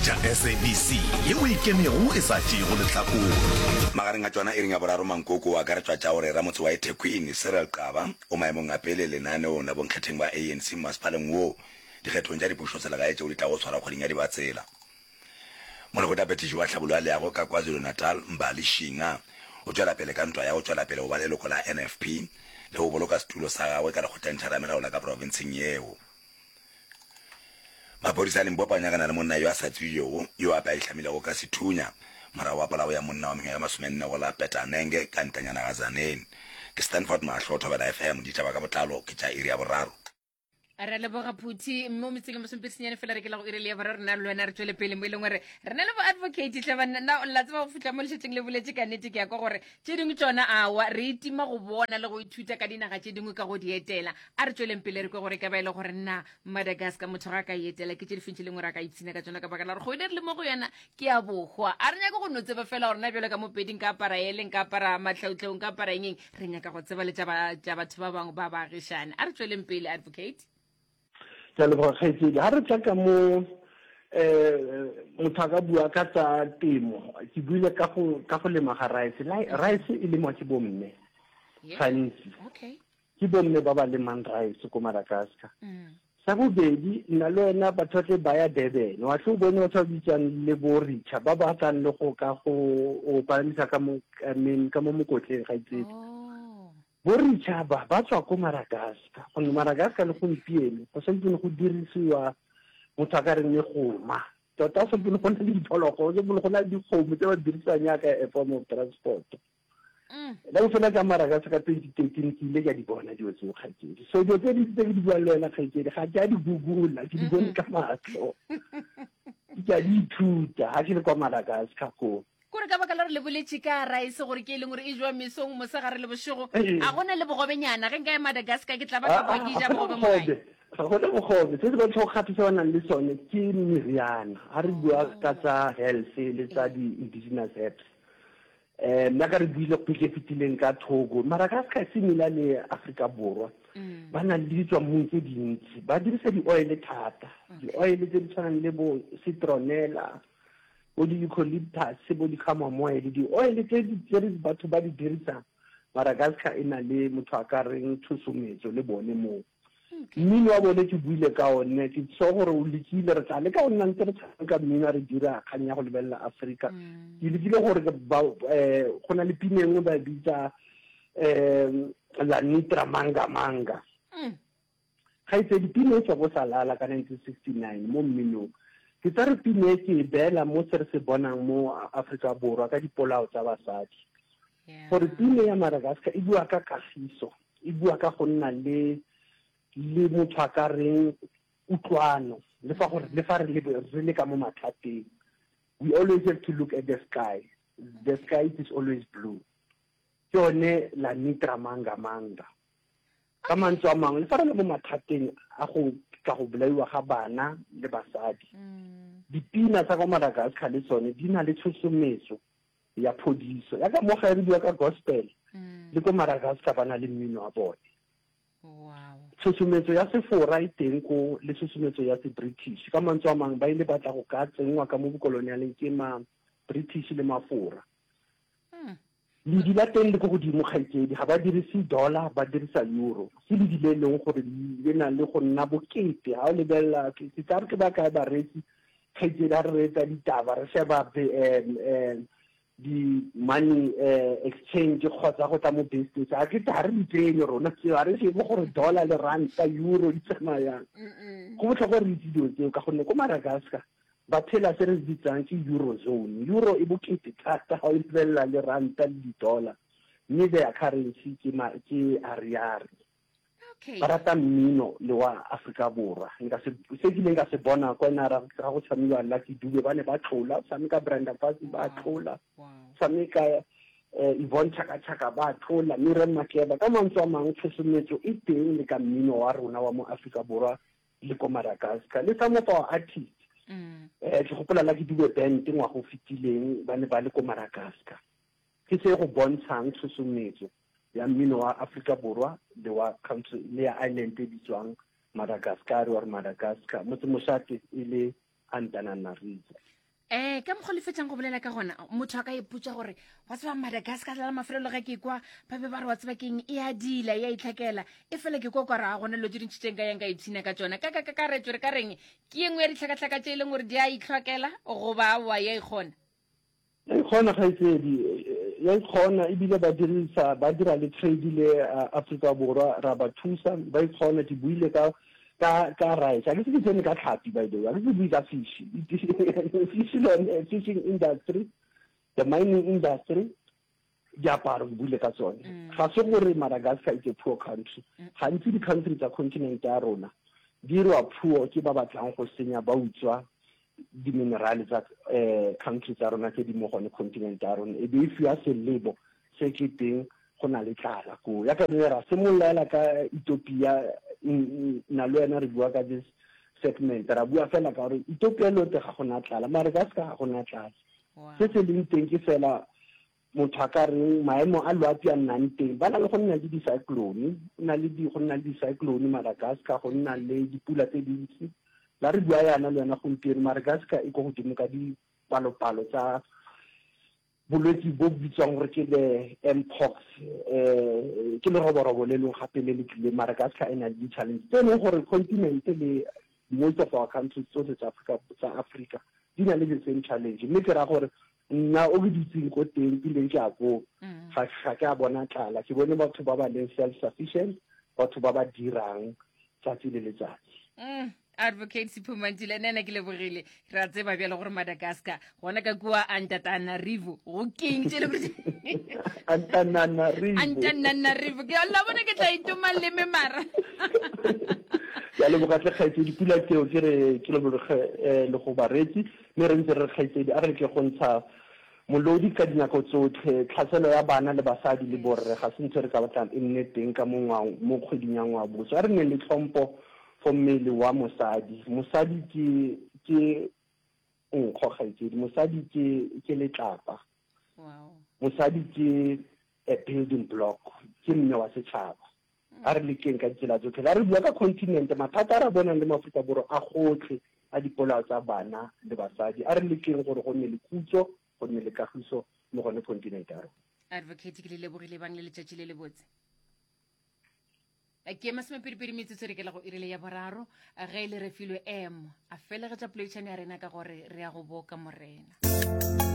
tša SABC yeo e ikemego e sa tšeego lehlakore. Magareng a tšona iring ya boraro Mankoko o akaretšwa tša gore ramotse wa eThekwini Cyril Xaba o maemong a pele lenaneong la bonkgetheng ba ANC mmasepaleng woo dikgethong tša dipušoselegae tšeo di tlago swarwa kgweding ya Dibatsela. Molekgotlaphethiši wa tlhabollo ya leago ka KwaZulu-Natal, Mbali Shinga, o tšwela pele ka ntwa ya go tšwela pele go ba leloko la NFP le go boloka setulo sa gagwe ka lekgotlengtheramelao la ka profenseng yeo. Maphodisa a Limpopo a nyakana le monna yo a sa tsebjego yo ape a ihlamilego ka sethunya morago wa polao ya monna wa mengwaga ye masomenne go la Petanenge ka ntanyana ga Tzaneen. Ke Stanford Mahlo, Thobela FM, ditaba ka botlalo ke tša iri ya boraro. Re a leboga Phuthi mo metseng e masomepedi senyane fela re ke la go iri le ya boraro rena le wena re tšwele pele mo e leng gore re na le bo advocate hle banna na la tseba go fihla mo lešetšeng le boletše ka nnete ke ya kwa gore tše dingwe tšona awa re itima go bona le go ithuta ka dinaga tše dingwe ka go di etela a re tšweleng pele re kwe gore e ka ba e le gore na Madagascar motho ga a ka e etela ke tše difeng tše lengwe re a ka ipshina ka tšona ka baka la gore kgwedi re le mo go yona ke ya bohwa a re nyake go no tseba fela gore na bjalo ka mopedi nka apara ele nka apara matlhautlhau nka apara engeng Re nyaka go tseba le tša batho ba bangwe ba baagišane. A re tšweleng pele, Advocate. Ke a leboga kgaetšedi. Ga re tla ka mo um motho a ka bua ka tsa temo, ke buile ka go ka go lema ga rice. Rice e lengwa ke bomme gantsi. Ke bomme ba ba lemang rice ko Madagascar. Sa bobedi, nna le wena batho ba tle ba ya Durban, wa tle o bone batho ba bitswang le bo Richa ba ba tlang le go ka go o palamisa ka mo I mean ka mo mokotleng gaitsedi. Oh. Bo Richa ba ba tswa ko Madagascar, gonne Madagascar le gompieno go santsane go dirisiwa motho a ka reng megoma. Tota go santsane go na le diphologolo, go santsane go na le dikgomo tse ba di dirisang jaaka a form of transport. Mm. La bofela ka Madagascar ka 2013 ke ile ka di bona dilo tseo kgaitsedi. So dilo tse dintsi tse ke di buang le wena kgaitsedi ga ke a di googla, ke di bone ka matlho. Ke a di ithuta ga ke le kwa Madagascar koo. Kore ka baka la gore le boletše ka rice gore ke e leng gore e jewa mesong, mosegare le bošego, Ee. a gona le bogobenyana. Ge nka ya Madagascar ke tla ba ka Ah, kwa ah, ke ja ga gona bogobe mo gae. bogobe. Ga gona bogobe. Se se bontsha go gape se ba nang le sone ke meriana. Ga re bua ka tsa health le tsa di-indigenous herbs. Um nna ka re buile kgwedi e fetileng ka Togo, Madagascar e similar le Afrika Borwa. Mm. Ba na le ditswammung tse dintsi, ba dirisa di-oil thata, di-oil tse di tshwanang le bo citronella, bo di-eucalyptus, bo di-chamomile, di-oil tse tse batho ba di dirisang. Madagascar e na le motho a ka reng tshosometso le bone moo. Mmino wa bone ke buile ka one, ke sure gore o lekile, re tla leka go nna ntse re tshameka mmino a re dira kgang ya go lebelela Afrika. Mm. Ke lekile gore ba eh, go na le pina e nngwe ba e bitsa um La Nitra Manga Manga. Mm. Kgaitsedi, pina e tswa ko Salala ka 1969 mo mminong. Ke tsa re pina e ke e beela mo se re se bonang mo Afrika Borwa ka dipolao tsa basadi. Gore pina ya Madagascar e bua ka kagiso. E bua ka go nna le le motho a ka reng kutlwano le fa gore le fa re le re le ka mo mathateng. We always have to look at the sky. The sky is always blue. Ke yone la nitra manga manga. Ka mantswe a mangwe le fa re le mo mathateng a go tla go bolaiwa ga bana le basadi. Dipina tsa kwa Madagascar le tsone di na le tshosometso ya phodiso. Ya ka mo gae re bua ka gospel, mm. le ko Madagascar ba na le mmino wa bone. Wow. Tshosometso ya Sefora e teng ko le tshosometso ya se-British. Ka mantswe a mangwe ba ile ba tla go ka tsenngwa ka mo bokolonialeng ke ma-British le Mafora. Mm. Ledi la teng le ko godimo kgaitsedi, ga ba dirise dollar ba dirisa euro. Ke ledi le e leng gore le na le go nna bokete. Ga o lebelela ke tla re ke ba kae bareetsi Kgaitsedi ga re reetsa ditaba re sheba di-money exchange kgotsa go tla mo business ga ke ga re di tsenye rona tseo ga re shebe gore dollar le ranta euro di tsamayang go botlhokwa re itse dilo tseo ka gonne ko Madagascar ba phela se re se bitsang ke eurozone euro e bokete thata ga o lebelela le ranta le di-dollar mme their currency ke ke ariary Okay. Ba rata mmino le wa Afrika Borwa. Nka se se kileng ka se bona kwa na ra ga go tshamekiwa Lucky Dube ba ne ba tlola, tshameka Brenda Fassie ba tlola, tshameka eh, Yvonne Chaka Chaka ba tlola, Miriam Makeba. Ka mantswe a mangwe tshosometso e teng le ka mmino wa rona wa mo Afrika Borwa le ko Madagascar. Le some of our artists. Mm. Eh, ke gopola Lucky Dube band ngwaga o fetileng ba ne ba le ko Madagascar. Ke se go bontshang tshosometso ya mmino wa Afrika Borwa le wa country le ya island e bitswang Madagascar or Madagascar, motse mošate e le. Antananarivo. Eh, ka mokgwa le fetšang go bolela ka gona, motho a ka ipotša gore wa tseba Madagascar la mafelelo ge ke kwa ba be ba re wa tseba keng e a dila e a itlhakela e fela ke kwa kwa ra gona dilo tše dintši tše nka yang ka ipshina ka tšona ka ka ka karetšo re ka reng ke ye nngwe ya ditlhakatlhaka tše e leng gore di a itlhokela goba aowa ya ikgona Ya ikgona kgaitsedi, ya ikgona ebile ba dirisa ba dira le trade le Afrika Borwa ra ba thusa ba ikgona ke buile ka ka ka rice a ke se ke tsene ka tlhapi by the way a ke se bue ka fish fish lone fishing industry the mining industry diaparo ke buile ka tsone mm. ga se gore Madagascar is a poor country mm. gantsi di-country tsa continent ya rona di irwa poor ke ba batlang go senya ba utswa di-minerale tsa um country tsa rona tse di mo gone continent ya rona e be e fiwa selebo se ke teng go na le tlala koo ya ka ne ra simolola ka Ethiopia nna le wena re bua ka this segment ra bua fela ka gore Ethiopia lote ga gona tlala mare ka seka ga gona tlala se se leng teng ke fela motho a ka reng maemo a loapi a nnang teng ba na le go nna le di-cyclone go na le go nna le di-cyclone Madagascar go nna le dipula tse dintsi la re bua yana le yona gompieno Madagascar e ko godimo ka dipalopalo tsa bolwetse bo bitswang gore ke the mpox um ke leroborobo le leng gape le le tlileng Madagascar e na le di-challenge tse e leng gore continent le most of our countries tsotlhe tsa Africa tsa Africa di na le the same challenge mme ke ra gore nna o ke dutseng ko teng kileng ke a koo mm. ga ga ke a bona tlala ke bone batho ba ba leng self sufficient batho ba ba dirang tsatsi le letsatsi mm. Advocate Sipho Mantula nna ena ke lebogile re a tseba bjale gore Madagascar gona ka kua Antananarivo go keng tše le gore Antananarivo Antananarivo ke la bona ke tla itoma leme mara ke a leboga tle kgaitsedi pula keo ke re ke leboge eh, le go baretsi mme re ntse re re kgaitsedi a re leke go ntsha molodi ka dinako tsotlhe tlhaselo ya bana le basadi le borre ga se ntho e re ka batlang e nne teng ka mo mo kgweding ya ngwaboso a re nneng le tlhompho for mmele wa mosadi. Mosadi ke ke nkgo kgaitsedi, mosadi ke ke letlapa. Wow. Mosadi ke a building block, ke mme wa setšhaba. A re lekeng ka ditsela tsotlhe. La re bua ka continent, mathata a re a bonang le mo Aforika Borwa a gotlhe a dipolao tsa bana le basadi. A re lekeng gore go nne le khutso, go nne le kagiso mo gone continent ya rona. Advocate ke le lebogile bang le letšatši le lebotse. Ke masomepedipedi metsotso re kela go irile ya boraro ge e le Refilwe M a felegetša poledišano ya rena ka gore re ya go boka Morena.